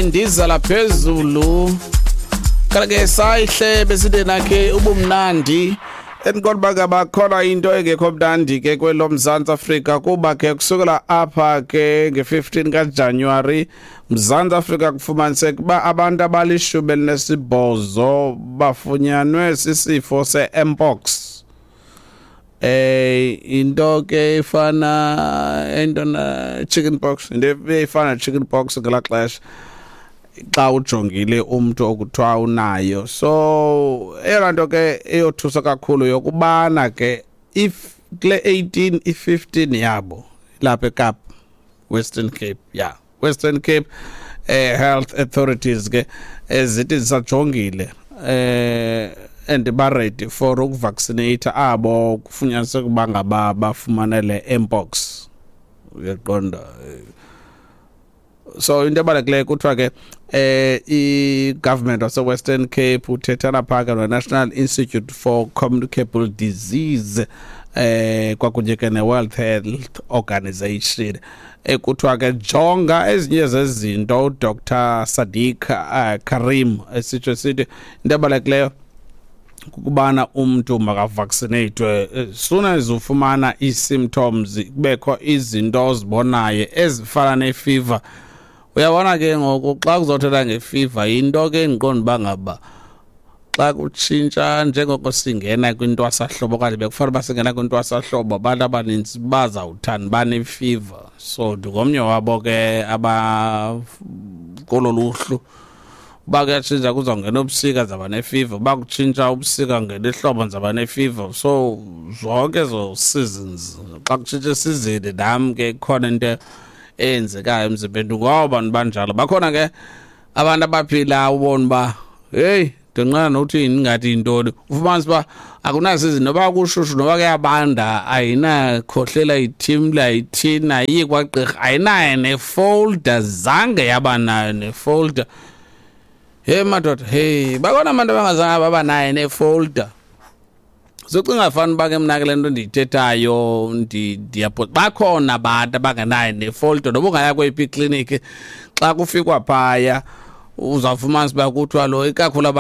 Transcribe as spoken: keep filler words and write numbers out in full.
Ndizala phezulu kanti ke sayihle beside nakhe ubumnandi. Endiqonda uba bakhona into engekho mnandi ke kwelo Mzantsi Afrika, kuba ke kusukela apha ke nge-fifteen kaJanuwari, Mzantsi Afrika kufumaniseka uba abantu abalishumi elinesibhozo bafunyanwe sisifo se-mpox. eh into ke ifana into na chicken pox, into efana chicken pox ngelaa xesha xa ujongile umntu okuthiwa unayo. So eyona nto ke eyothusa kakhulu yokubana ke if kule eighteen, i-fifteen yabo lapha eKapa, Western Cape, yeah, Western Cape eh health authorities ke ezithi zisajongile eh and ba ready for ukuvaccinate abo kufunyaniseka ukuba ngaba bafumane le mpox, uyaqonda? So into ebalulekileyo kuthiwa ke eh i-government wase-Western Cape uthethana phaka no-National Institute for Communicable Disease eh kwakunye ke ne-World Health Organization, ekuthiwa ke jonga ezinye zezinto uDoctor Sadiq uh, Karim esitsho sithi into ebalulekileyo kukubana umntu makavaccinatwe as soon as ufumana ii-symptoms, kubekho izinto ozibonayo ezifana ne-fever. Uyabona ke ngoku xa kuzothetha nge-fever, yinto ke endiqonda uba ngaba xa kutshintsha njengoko singena kwintwasahlobo okanye bekufanele uba singena kwintwasahlobo, abantu abanintsi bazawuthanda bane-fever. So ndingomnye wabo ke aba kolo luhlu. Uba kuyatshintsha kuzawungena ubusika, ndizawuba ne-fever. Uba kutshintsha ubusika ngena ihlobo, ndizawuba ne-fever. So zonke ezo seasons, xa kutshintsha isizini, nam ke ikhona into eyenzekayo emzimbeni ngoba bantu banjalo. Bakhona ke abantu abaphila ubona uba heyi, ndinqena nokuthi ingathi yintoni, ufumanise uba akunasizini, noba kushushu noba kuyabanda, ayinakhohlela, ithimla, ayithini, ayiyi kwagqirha, ayinayo ne-folder, zange yaba nayo ne-folder. He madoda, hey, bakhona abantu abangazange baba nayo ne-folder. Socinga fana uba ke mna ke le nto ndiyithethayo ndiyapho, bakhona abantu abangenayo ne-folder. Noba ungaya kweyiphi ikliniki, xa kufikwa phaya uzawufumanisa uba kuthiwa lo ikakhulu abantu